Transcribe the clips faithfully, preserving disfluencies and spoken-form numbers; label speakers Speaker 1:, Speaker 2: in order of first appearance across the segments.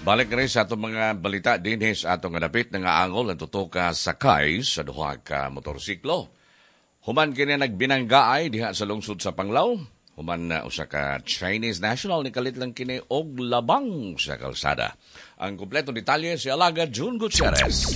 Speaker 1: Balik rin sa atong mga balita dinhi sa atong dapit nga angol ang tuto ka sakay sa duha ka motorsiklo. Human kini nagbinanggaay diha sa lungsod sa Panglao. Human na usa ka Chinese national ni kalit lang kini og labang sa kalsada. Ang kompletong detalye si Alaga June Gutierrez.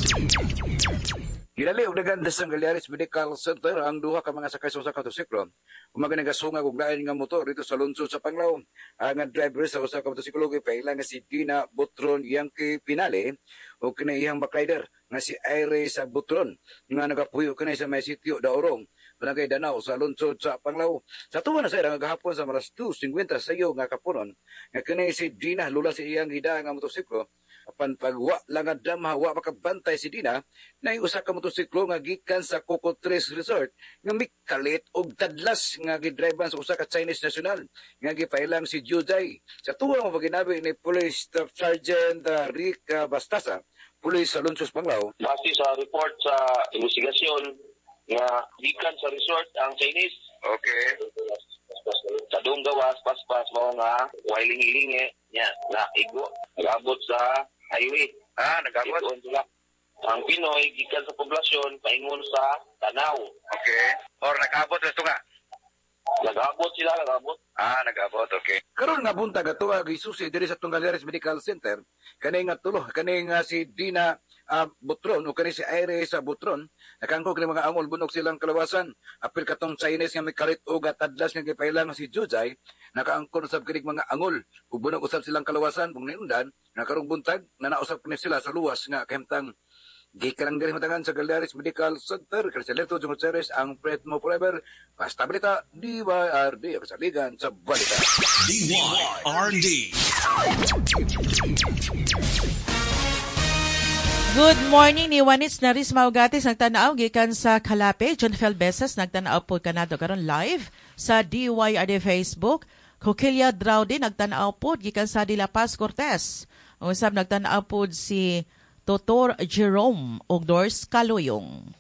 Speaker 2: Gidali og dagan sa Gallares Medical Center ang duha ka mga sakay sa usa ka motosiklo. Umaga nagasungag og lain nga motor dito sa lungsod sa Panglao. Ang driver sa usa ka motosiklo gipaila nga si Dina Butron Yankee Pinale o kini iyang backrider nga si Iris Butron nga nagapuyo kini sa may sitio Daurong, Barangay Danao sa lungsod sa Panglao. Sa tuwa na sa nga gahapon sa alas dos singkwenta sa iyo nga kapunon nga kini si Dina lula sa iyang gida nga motosiklo, apan pagwa lang nga damha, wa makabantay si Dina na usa ka motosiklo nga gikan sa Coco Tres Resort nga mikalit og tadlas nga gidriban sa usa ka Chinese national nga gipailang si Judai. Sa tuwa mo paginabi ni Police Staff Sergeant uh, Rick uh, Bastasa, Police sa Lungsod Panglao.
Speaker 3: Base sa report sa investigasyon nga gikan sa resort ang Chinese.
Speaker 2: Okay.
Speaker 3: Sa dong gawas, paspas mo nga way lingi-lingi nya na igo nagabot sa highway.
Speaker 2: Ah, nagabot.
Speaker 3: Sila. Ang Pinoy gikan sa poblasyon paingon sa Tanaw.
Speaker 2: Okay. Or nag-abot sa tunga.
Speaker 3: Nag-abot sila, nag-abot.
Speaker 2: Ah, nag-abot, okay. Karon nga buntag ato gisusi diri sa Gallares Medical Center kani nga tulo, kani nga si Dina uh, Butron o kani si Iris Butron, nakangko kini mga angol, bunog silang kalawasan. Apil katong Chinese nga mikalit og tadlas nga gipailang si Jujay, nakaangkon usab kini mga angol ug bunog usab silang kalawasan. Kung niundan nga karong buntag na nausab kini sila sa luwas nga kahimtang. Gikan lang diri matangan sa Gallares Medical Center, Criselito Gutierrez, ang friend mo forever. Basta balita, D Y R D, kasaligan sa balita.
Speaker 4: D Y R D.
Speaker 5: Good morning ni Juanits Naris Maugatis, nagtanaw gikan sa Calape. John Fel Besas, nagtanaw po kanado karon live sa D Y R D Facebook. Coquilia Draude, nagtanaw po gikan sa De La Paz, Cortes. Ang usab nagtanaw po si Totor Jerome ug Dors Kaluyong.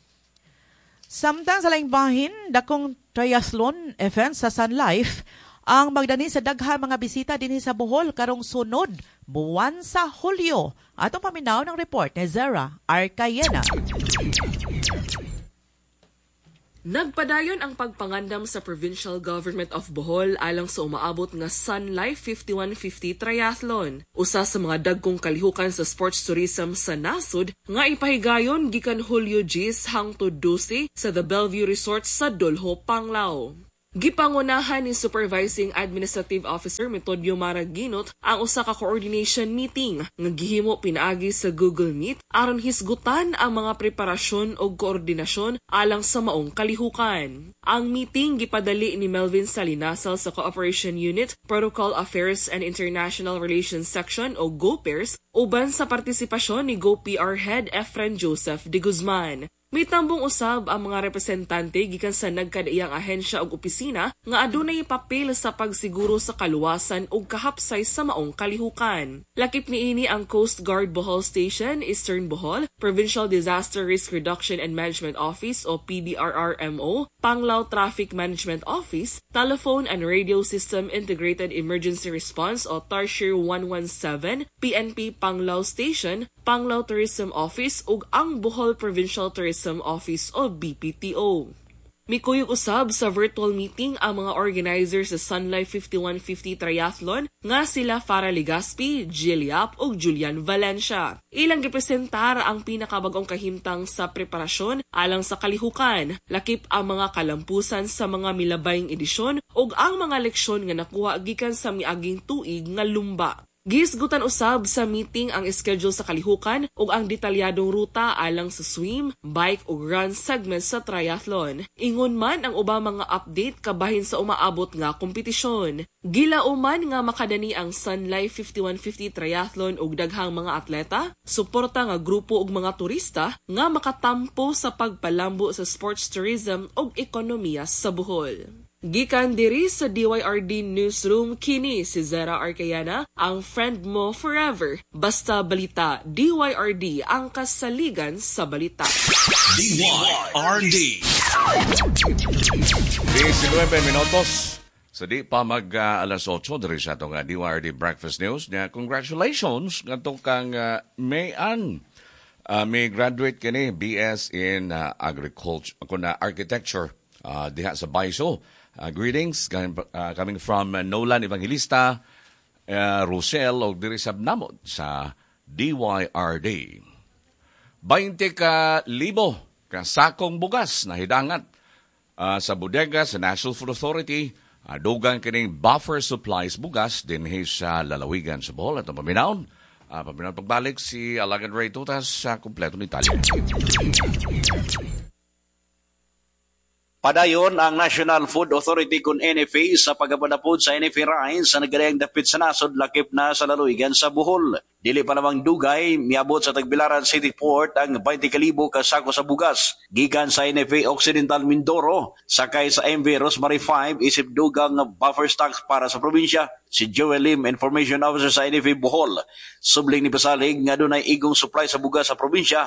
Speaker 5: Samtang sa laing bahin, dakong triathlon event sa Sun Life ang magdani sa daghang mga bisita dinhi sa Bohol karong sunod buwan sa Hulyo. Atong paminaw ng report ni Zara Arcayena.
Speaker 6: Nagpadayon ang pagpangandam sa Provincial Government of Bohol alang sa umaabot nga Sun Life fifty-one fifty Triathlon. Usa sa mga dagkong kalihukan sa sports tourism sa nasod nga ipahigayon gikan Hulyo diyes hangtod dose sa The Bellevue Resort sa Dolho, Panglao. Gipangunahan ni Supervising Administrative Officer Metodio Maraginot ang usa ka coordination meeting nga gihimo pinaagi sa Google Meet aron hisgutan ang mga preparasyon ug koordinasyon alang sa maong kalihukan. Ang meeting gipadali ni Melvin Salinasal sa Cooperation Unit, Protocol Affairs and International Relations Section o GoPairs uban sa partisipasyon ni GoPR Head Efren Joseph de Guzman. Mitambong usab ang mga representante gikan sa nagkadaiyang ahensya ug opisina nga adunay papel sa pagsiguro sa kaluwasan ug kahapsay sa maong kalihukan. Lakip niini ang Coast Guard Bohol Station, Eastern Bohol, Provincial Disaster Risk Reduction and Management Office o P D R R M O, Panglao Traffic Management Office, Telephone and Radio System Integrated Emergency Response o Tarsier one one seven, P N P Panglao Station, Panglao Tourism Office ug ang Bohol Provincial Tourism Office o B P T O. Mikuyog usab sa virtual meeting ang mga organizers sa Sun Life fifty-one fifty Triathlon nga sila Farah Legaspi, Jill Yap ug Julian Valencia. Ilang gipresentar ang pinakabagong kahimtang sa preparasyon alang sa kalihukan, lakip ang mga kalampusan sa mga milabayng edisyon ug ang mga leksyon nga nakuha gikan sa miaging tuig nga lumba. Gihisgutan usab sa meeting ang schedule sa kalihukan ug ang detalyadong ruta alang sa swim, bike ug run segments sa triathlon. Ingon man ang ubang mga update kabahin sa umaabot nga kompetisyon. Gilauman nga makadani ang Sun Life fifty-one fifty Triathlon og daghang mga atleta, suporta nga grupo ug mga turista nga makatampo sa pagpalambo sa sports tourism ug ekonomiya sa Bohol. Gikan diri sa D Y R D Newsroom, kini si Zera Arcayana, ang friend mo forever. Basta balita, D Y R D, ang kasaligan sa balita.
Speaker 4: D Y R D.
Speaker 1: nineteen minutos. So di pa mag uh, alas otso diri sa atong uh, D Y R D Breakfast News. Nya, congratulations ngadto kang uh, Mayan. Uh, may graduate kini B S in uh, agriculture ako na architecture uh, diha sa Baiso. Uh, greetings uh, coming from uh, Nolan Evangelista, uh, Rosel og diri sa namo sa D Y R D. twenty ka libo ka sakong bugas na hidangat uh, sa bodega sa National Food Authority. Uh, dugang kining buffer supplies bugas dinhi sa lalawigan sa Bohol. At paminawon, uh, paminawon pagbalik si Alagad Ray Tutas sa kompleto ni Italia.
Speaker 7: Padayon ang National Food Authority kun N F A sa pagapadapod sa N F A Rice sa nagkadayang dapit sa nasod, lakip na sa lalawigan sa Bohol. Dili pa namang dugay, miabot sa Tagbilaran City Port ang twenty kalibo ka sako sa bugas gikan sa N F A Occidental Mindoro, sakay sa M V Rosemary five isip dugang buffer stocks para sa probinsya. Si Joel Lim, Information Officer sa N F A Bohol, subling ni pasalig nga dunay igong supply sa bugas sa probinsya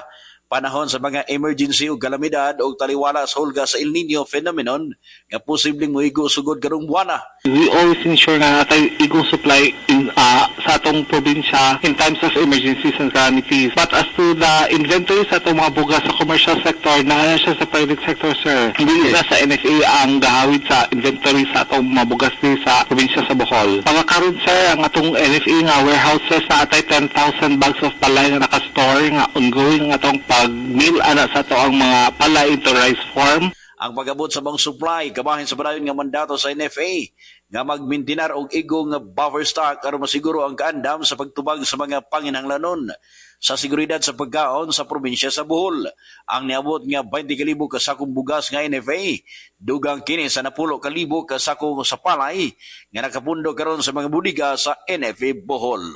Speaker 7: panahon sa mga emergency o kalamidad o taliwala sa hulga sa El Nino phenomenon nga posibleng moigo sugod karong buwana.
Speaker 8: We always ensure nga natay igong supply in, uh, sa atong probinsya in times of emergencies and calamities. But as to the inventory sa atong mga bugas sa commercial sector, naa siya sa private sector, sir. Hindi na sa N F A ang gahawid sa inventory sa atong mga bugas din sa probinsya sa Bohol. Pagkakaroon, sir, ang atong N F A nga warehouses na atay ten thousand bags of palay nga naka-store nga ongoing ang atong pag-mill ana sa ato ang mga palay into rice form.
Speaker 7: Ang pag-abot sa bang supply kabahin sa padayon nga mandato sa N F A nga magmintinar og igong buffer stock aron masiguro ang kaandam sa pagtubag sa mga panginahanglanon sa seguridad sa pagkaon sa probinsya sa Bohol. Ang niabot nga twenty kalibo ka sakong bugas nga N F A, dugang kini sa napulo kalibo ka sako sa palay nga nakapundo karon sa mga budiga sa N F A Bohol.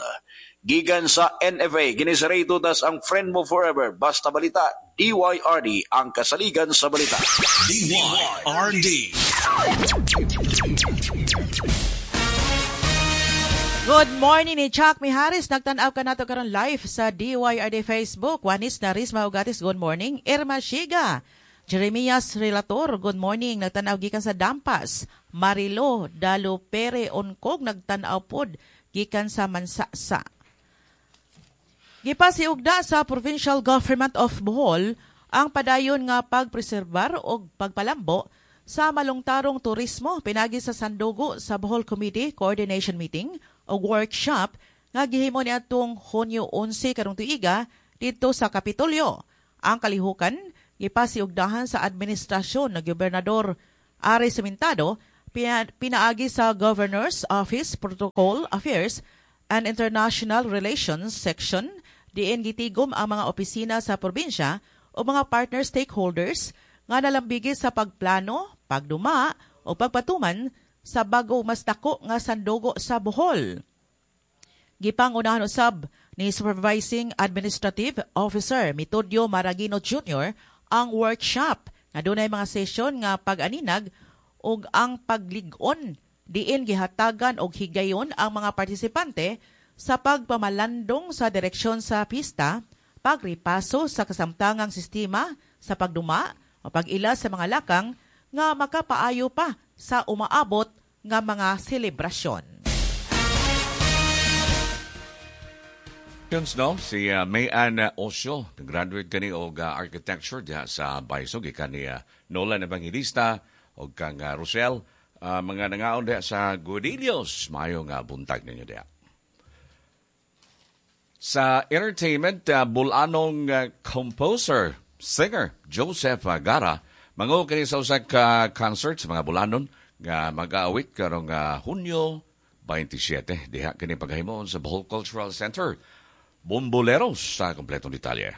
Speaker 7: Gikan sa N F A, kini si Ray Tutas, ang friend mo forever. Basta balita, D Y R D, ang kasaligan sa balita.
Speaker 4: D Y R D.
Speaker 5: Good morning ni Chuck Miharis. Nagtanaw ka nato karon live sa D Y R D Facebook. Wanis na Risma Ugatis, good morning. Irma Shiga. Jeremias Relator, good morning. Nagtanaw gikan sa Dampas. Marilo Dalupere Onkog, nagtanaw pod gikan sa Mansasa. Gipasiugda sa Provincial Government of Bohol ang padayon nga pagpreserbar og pagpalambo sa malungtarong turismo pinagi sa Sandugo sa Bohol Committee Coordination Meeting o workshop nga gihimo niadtong Hunyo onse karong tuiga didto sa Kapitolyo. Ang kalihukan gipasiugdahan sa administrasyon ng Gobernador Ari Sementado pinaagi sa Governor's Office Protocol Affairs and International Relations Section, diin gitigom ang mga opisina sa probinsya o mga partner stakeholders nga nalambigi sa pagplano, pagduma o pagpatuman sa bago mas dako nga sandugo sa Bohol. Gipangunahan usab ni Supervising Administrative Officer Metodio Maragino Junior ang workshop nga dunay mga sesyon nga pag-aninag ug ang paglig-on, diin gihatagan og higayon ang mga partisipante sa pagpamalandong sa direksyon sa pista, pagripaso sa kasamtangang sistema sa pagduma o pag-ila sa mga lakang nga makapaayo pa sa umaabot nga mga selebrasyon.
Speaker 1: No, si uh, Mayan Osio, graduate kani og uh, architecture diha sa Baiso, gikan ni uh, Nolan Evangelista og kang uh, Rosel, uh, mga nangaon diha sa Godillos, maayo nga buntag ninyo diha. Sa entertainment, uh, bulanong uh, composer, singer Joseph uh, Gara, manguo kini sa usa ka concert sa mga bulanon nga mag-aawit karong uh, Hunyo twenty-seven diha kini paghimon sa Bohol Cultural Center. Bomboleros sa kompletong detalye.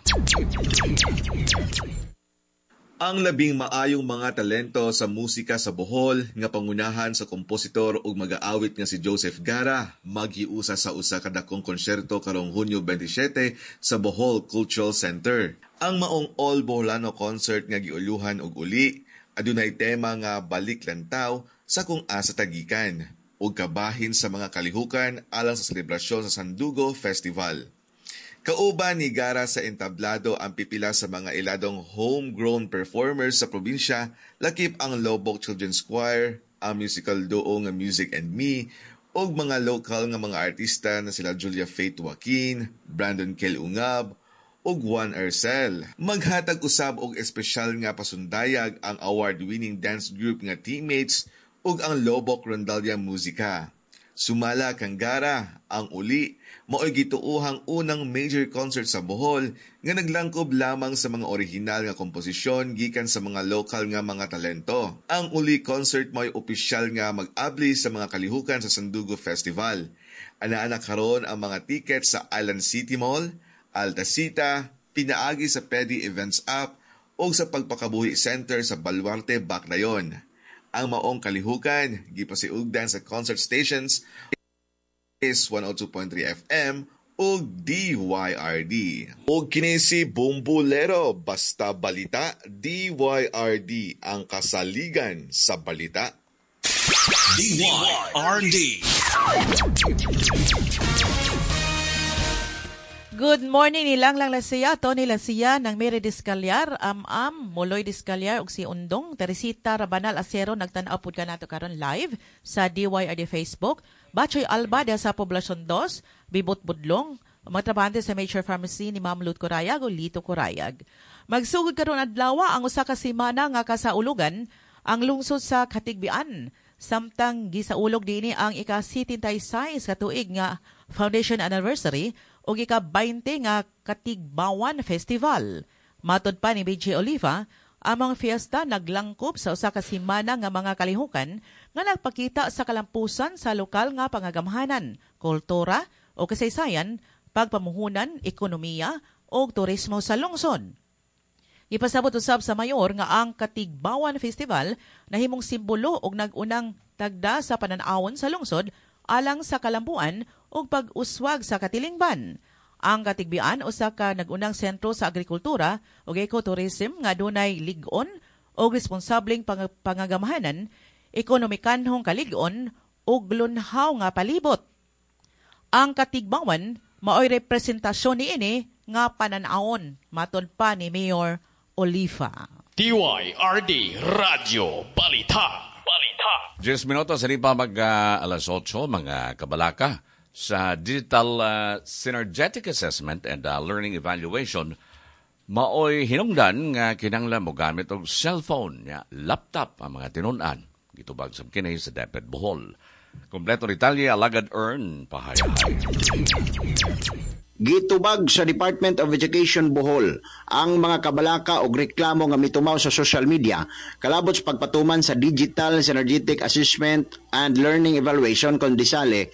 Speaker 9: Ang labing maayong mga talento sa musika sa Bohol nga pangunahan sa kompositor ug mag-aawit nga si Joseph Gara maghiusa sa usa ka dakong konsyerto karong Hunyo twenty-seven sa Bohol Cultural Center. Ang maong All Boholano Concert nga giuluhan og uli adunay tema nga Balik Lantaw sa kung asa tagikan ug kabahin sa mga kalihukan alang sa selebrasyon sa Sandugo Festival. Kauban ni Gara sa entablado ang pipila sa mga iladong homegrown performers sa probinsya, lakip ang Lobok Children's Choir, ang musical duo nga Music and Me, ug mga local nga mga artista na sila Julia Faith Joaquin, Brandon Kel Ungab, ug Juan Ercel. Maghatag usab og espesyal nga pasundayag ang award-winning dance group nga Teammates ug ang Lobok Rondalla Musica. Sumala kang Gara, ang Uli, mao'y gituohang unang major concert sa Bohol nga naglangkob lamang sa mga orihinal nga komposisyon gikan sa mga lokal nga mga talento. Ang Uli concert mao'y opisyal nga mag-abli sa mga kalihukan sa Sandugo Festival. Anaa na karon ang mga ticket sa Island City Mall, Altasita, pinaagi sa Pedi Events app o sa Pagpakabuhi Center sa Baluarte, Baclayon. Ang maong kalihukan, gipasiugdan sa concert stations is one oh two point three F M ug D Y R D. Ug kini si Bumbulero, basta balita, D Y R D ang kasaligan sa balita.
Speaker 4: D Y R D.
Speaker 5: Good morning nilang lang Lasiya, Tony Lasiya, ng Mary Discalyar, Am-Am, Moloy Discalyar, ug si Undong, Teresita Rabanal Acero, nagtan-aw pud kanato karon live sa D Y R D Facebook. Bachoy Alba diha sa Poblacion dos, Bibot Budlong, mga trabahante sa Major Pharmacy ni Ma'am Lut Corayag o Lito Corayag. Magsugod karon adlaw ang usa ka semana nga kasaulugan ang lungsod sa Katigbian. Samtang gisaulog dinhi ang ika-sesenta y sais ka tuig nga Foundation Anniversary ug ika-twenty nga Katigbawan Festival. Matod pa ni B J Oliva, ang mga fiesta naglangkob sa usa ka semana nga mga kalihukan nga nagpakita sa kalampusan sa lokal nga pangagamhanan, kultura o kasaysayan, pagpamuhunan, ekonomiya o turismo sa lungsod. Ipasabot usab sa mayor nga ang Katigbawan Festival nahimong simbolo og nag-unang tagda sa pananawon sa lungsod alang sa kalambuan ug pag-uswag sa katilingban. Ang Katigbian usa ka nag-unang sentro sa agrikultura ug ecotourism nga dunay lig-on og responsableng pang- pangagamhanan, ekonomikanhong kalig-on ug lunhaw nga palibot. Ang Katigbawan maoy representasyon niini nga pananawon, matod pa ni Mayor Oliva.
Speaker 4: D Y R D Radyo Balita. Balita.
Speaker 1: ten minutos sa pa mag uh, alas otso, mga kabalaka, sa Digital uh, Synergetic Assessment and uh, Learning Evaluation maoy hinungdan nga kinanglan mo gamit og cellphone nya laptop ang mga tinun-an. Gitubag sa kini sa DepEd Bohol. Kompleto detalye, alagad Earn Pahayahay.
Speaker 10: Gitubag sa Department of Education Bohol ang mga kabalaka og reklamo nga mitumaw sa social media kalabot sa pagpatuman sa Digital Synergetic Assessment and Learning Evaluation kon DISALE.